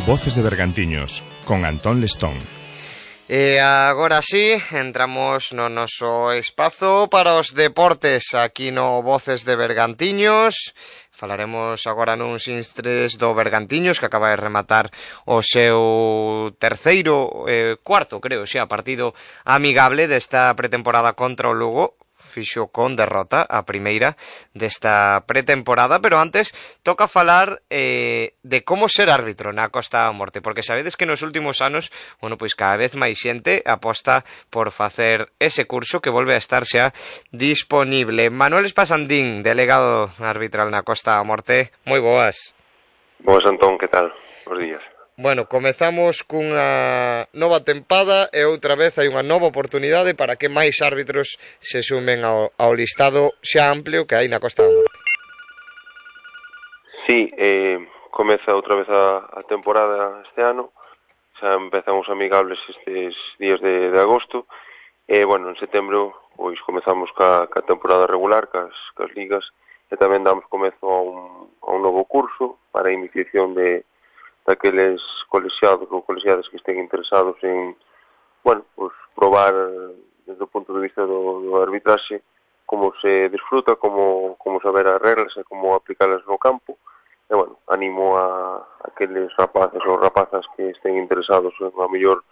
Voces de Bergantiños, con Antón Lestón. E agora sí, entramos no noso espazo para os deportes aquí no Voces de Bergantiños. Falaremos agora nuns instres do Bergantiños, que acaba de rematar o seu cuarto, creo, xa, partido amigable desta pretemporada contra o Lugo. Fixo con derrota a primeira desta pretemporada, pero antes toca falar de como ser árbitro na Costa da Morte, porque sabedes que nos últimos anos, bueno, pois cada vez máis xente aposta por facer ese curso que volve a estar xa disponible. Manuel Espasandín, delegado arbitral na Costa da Morte, moi boas. Boas, Antón, que tal? Bos días. Bueno, comezamos cunha nova tempada e outra vez hai unha nova oportunidade para que máis árbitros se sumen ao listado xa amplio que hai na Costa da Morte. Sí, comeza outra vez a temporada este ano, xa empezan os amigables estes días de agosto, e, bueno, en setembro pois comezamos ca temporada regular, cas ligas, e tamén damos comezo a un novo curso para a iniciación daqueles colexiados ou colexiadas que estén interesados en, bueno, pues probar desde o punto de vista do arbitraxe como se disfruta, como saber as reglas e como aplicalas no campo. E, bueno, animo a aqueles rapaces ou rapazas que estén interesados en, a mellor,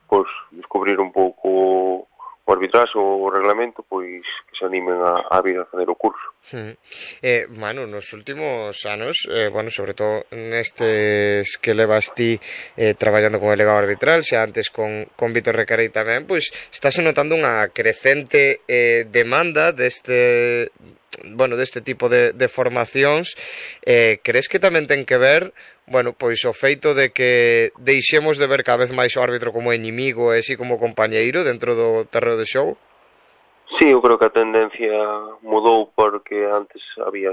pues, descubrir un pouco o arbitraxe ou o reglamento, pois que se animen a vir a fazer o curso. Manu, nos últimos anos, bueno, sobre todo nestes que levas ti traballando con delegado arbitral, xa antes con Vítor Recarei tamén, pois estáse notando unha crecente demanda deste tipo de formacións. Crees que tamén ten que ver, bueno, pois o feito de que deixemos de ver cada vez máis o árbitro como inimigo e así como compañeiro dentro do terreo de xogo? Sí, eu creo que a tendencia mudou porque antes había,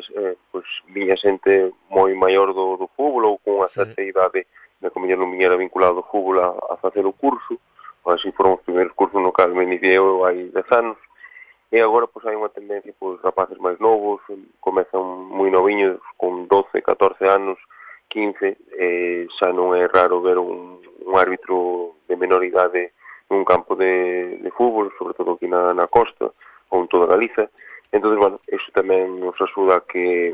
pues, viña xente moi maior do fútbol ou con unha certa idade de que non viñera vinculado ao fútbol a facer o curso, ou así foron os primeiros cursos no cal me iniciei eu hai 10 anos, e agora pues, hai unha tendencia, pues, rapaces máis novos, comezan moi noviños, con 12, 14 anos, 15, xa non é raro ver un árbitro de menor idade nun campo de fútbol, sobre todo aquí na costa, ou en toda Galiza. Entón, bueno, iso tamén nos axuda a que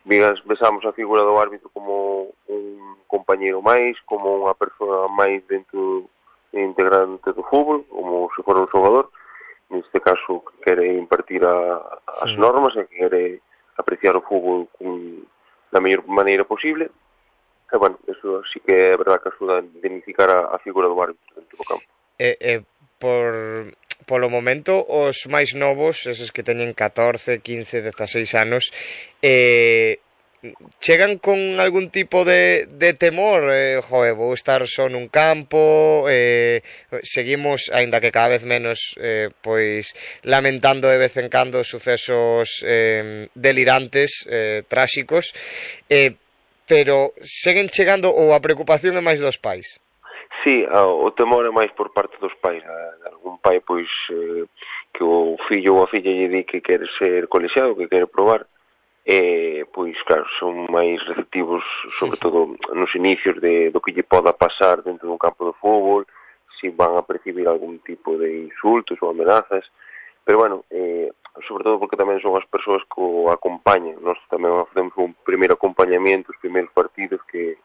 vexamos a figura do árbitro como un compañeiro máis, como unha persoa máis dentro integrante do fútbol, como se fora un xogador, neste caso que quere impartir as normas e que quere apreciar o fútbol da mellor maneira posible. E, bueno, iso sí que é verdad que axuda a identificar a figura do árbitro dentro do campo. Polo momento, os máis novos, eses que teñen 14, 15, 16 anos, chegan con algún tipo de temor, vou estar só nun campo, seguimos, aínda que cada vez menos, pois lamentando de vez en cando sucesos delirantes, tráxicos, pero seguen chegando, ou a preocupación é máis dos pais? Sí, o temor é máis por parte dos pais. Algún pai, pois, que o fillo ou a filla lle di que quere ser colexiado, que quere probar, pois, claro, son máis receptivos, sobre todo nos inicios do que lle poda pasar dentro dun campo de fútbol, se van a percibir algún tipo de insultos ou amenazas, pero, bueno, sobre todo porque tamén son as persoas que o acompañan. Nós tamén facemos un primeiro acompañamiento, os primeiros partidos que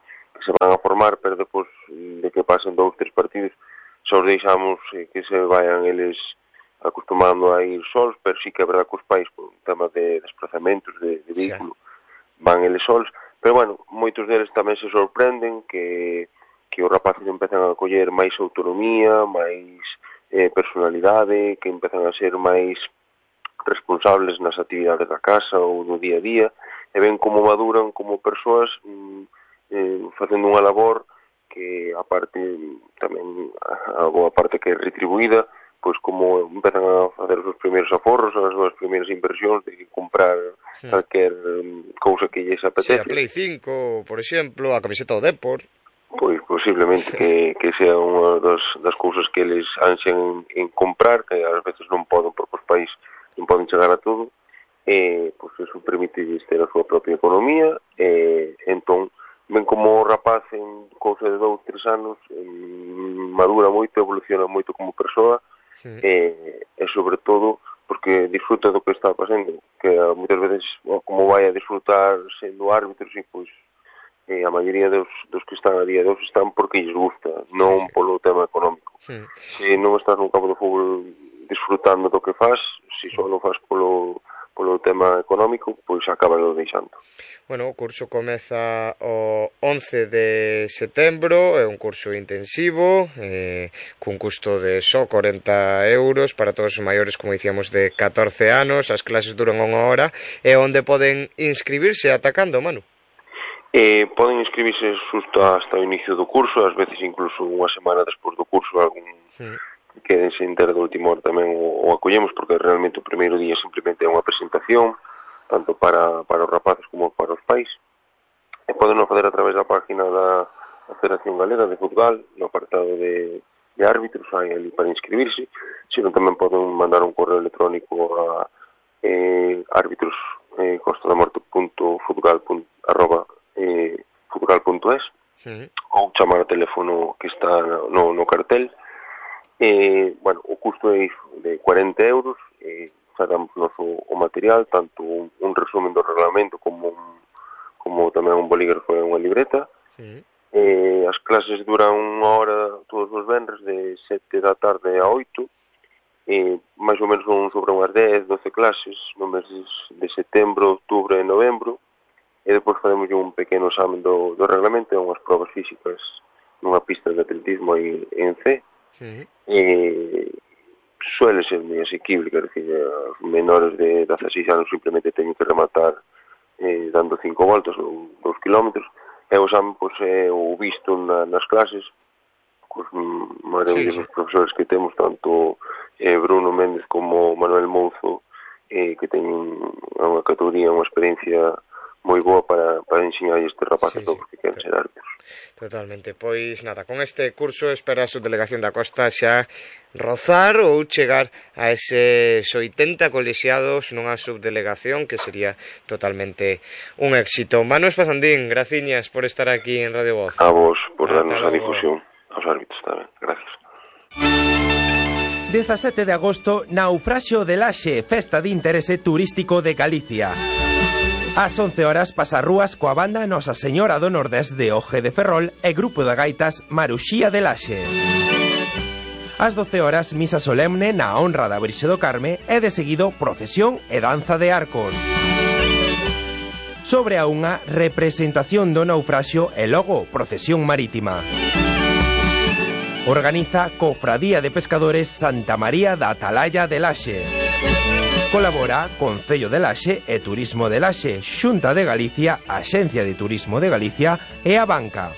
se van a formar, pero depois de que pasen 2, 3 partidos só os deixamos que se vayan eles acostumando a ir sols, pero sí que é verdad que os pais, por un tema de desplazamentos de vehículo, van eles sols, pero, bueno, moitos deles tamén se sorprenden que os rapaces empezan a coller máis autonomía, máis personalidade, que empezan a ser máis responsables nas actividades da casa ou do día a día, e ven como maduran como persoas facendo unha labor que, aparte, tamén a boa parte que é retribuída, pois como empezan a facer os seus primeiros aforros, as súas primeiras inversións de comprar calquer cousa que lles apetece. Sí, a Play 5, por exemplo, a camiseta do Depor. Pois posiblemente que sea unha das cousas que eles ansian en comprar, que ás veces non poden, porque os país non poden chegar a todo, pois eso permite ter a súa propia economía, entón ven como rapaz en cousa de 2, 3 anos, madura moito, evoluciona moito como persoa, e sobre todo porque disfruta do que está pasando, que moitas veces como vai a disfrutar sendo árbitro, e pois a maioría dos que están a día de hoxe están porque lles gusta, non polo tema económico. Se non estás nun campo de fútbol disfrutando do que faz, se só non faz polo tema económico, pois acaba deixando. Bueno, o curso comeza o 11 de setembro, é un curso intensivo, cun custo de só 40 euros para todos os maiores, como dicíamos, de 14 anos, as clases duran 1 hora, e onde poden inscribirse atacando, Manu? Poden inscribirse xusto hasta o inicio do curso, ás veces incluso unha semana despois do curso, algún queden sen ter do último hora tamén o acollemos, porque realmente o primeiro día simplemente é unha presentación, tanto para os rapaces como para os pais, e poden facer a través da página da Federación Galega de Fútbol, no apartado de árbitros, hai ali para inscribirse, senón tamén poden mandar un correo electrónico a arbitros.futgal.es ou chamar ao teléfono que está no cartel. Bueno, o custo é de 40 euros, sacamos o material, tanto un resumen do reglamento como tamén un bolígrafo e unha libreta. As clases duran 1 hora todos os venres de 7 da tarde a 8, máis ou menos son sobre unhas 10, 12 clases no mes de setembro, outubro e novembro, e depois faremos un pequeno examen do reglamento e unhas probas físicas nunha pista de atletismo aí en C. Suele ser moi asequible, quer dizer, os menores de 16 anos simplemente teñen que rematar dando 5 voltas ou 2 kilómetros, e o examen é o visto nas clases cos maravillosos profesores que temos, tanto Bruno Méndez como Manuel Mouzo, que teñen unha categoría, unha experiencia moi boa para ensinar estes rapaces todos que queren ser árbitros. Totalmente, pois nada, con este curso espera a subdelegación da Costa xa rozar ou chegar a eses 80 colexiados nunha subdelegación que sería totalmente un éxito. Manu Espasandín, graciñas por estar aquí en Radio Voz. A vos, por darnos a difusión aos árbitros tamén, gracias. 17 de agosto, Naufraxio de Laxe, festa de interese turístico de Galicia. Ás 11 horas pasarrúas coa banda Nosa Señora do Nordés de Oje de Ferrol e grupo de gaitas Maruxía de Laxe. Ás 12 horas misa solemne na honra da Virxe do Carme e de seguido procesión e danza de arcos. Sobre a unha representación do naufraxio e logo procesión marítima. Organiza Cofradía de Pescadores Santa María da Atalaya de Laxe. Colabora Concello de Laxe e Turismo de Laxe, Xunta de Galicia, Axencia de Turismo de Galicia e a Banca.